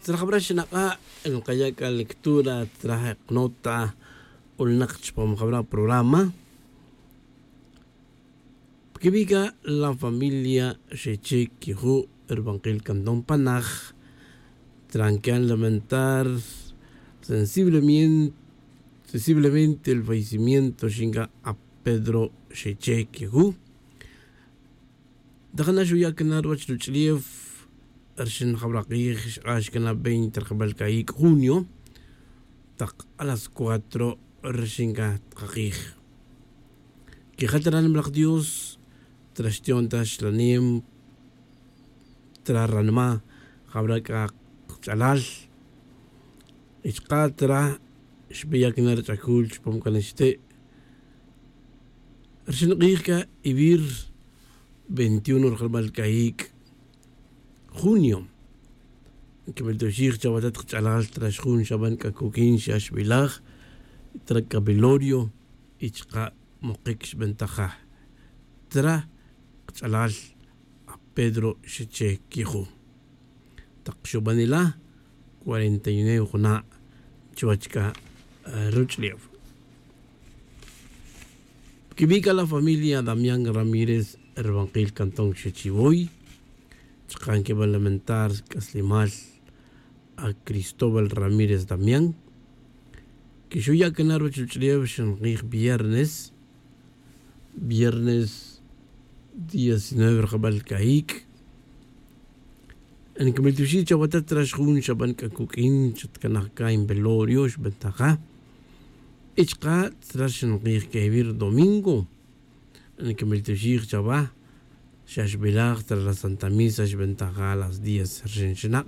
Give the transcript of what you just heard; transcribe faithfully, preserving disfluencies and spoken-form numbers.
Tzra jabra xinak'a' nkaya' k'a lectura tzra je' qnota. Ulnak chupam jabra programa. Pkibi' k'a la familia xeche' kiju' rbankil kanton panaj, tzra nkian lamentar sensiblemente sensiblemente el fallecimiento xinka' a pedro xeche' kiju'. Ntajana' xuya' kena' ruwach ruch'ulef rxin jabra q'ij xq'ax kena' veinte rjabal k'ayik' junio tak a las cuatro rxin k'a tqaqij. Kejal tara' nimalaj dios tara' xtiyon ta xlanem tara' ranma' jabra k'a qch'alal. Y chqa' tara' xbeya' kena' rch'akul chupam k'a nixte' rxin q'ij k'a ivir veintiuno rjalbal k'ayik' junio. Nkimiltuxij chawa tat qch'alal tara' xjun xaban k'a kukin xa xbilaj tara' k'a velorio. Y chqa' mokik xbentaja' tara' qch'alal a pedro xeche' kiju'. Tak xubanila' cuarenta y nueve juna' chuwach k'a ruch'ulef. Pkibi' k'a la familia damián ramírez rbankil kanton xechiwoy. Chqa' nkiba lamentar sk'aslimal a cristóbal ramírez damián. Kixuya' kena' ruwach ruch'ulef xinq'ij viernes viernes diecinueve rjabal k'ayik'. Nkimiltuxij chawa tat tara' xjun xaban k'a kuk'in chatkanaj k'a en velorio xbentaja'. Y chqa' tara' xinq'ij k'a ivir domingo. Nkimiltuxij chawa xa xbilaj tara' la santa misa xbentaja' a las diez rxin xinak'a'.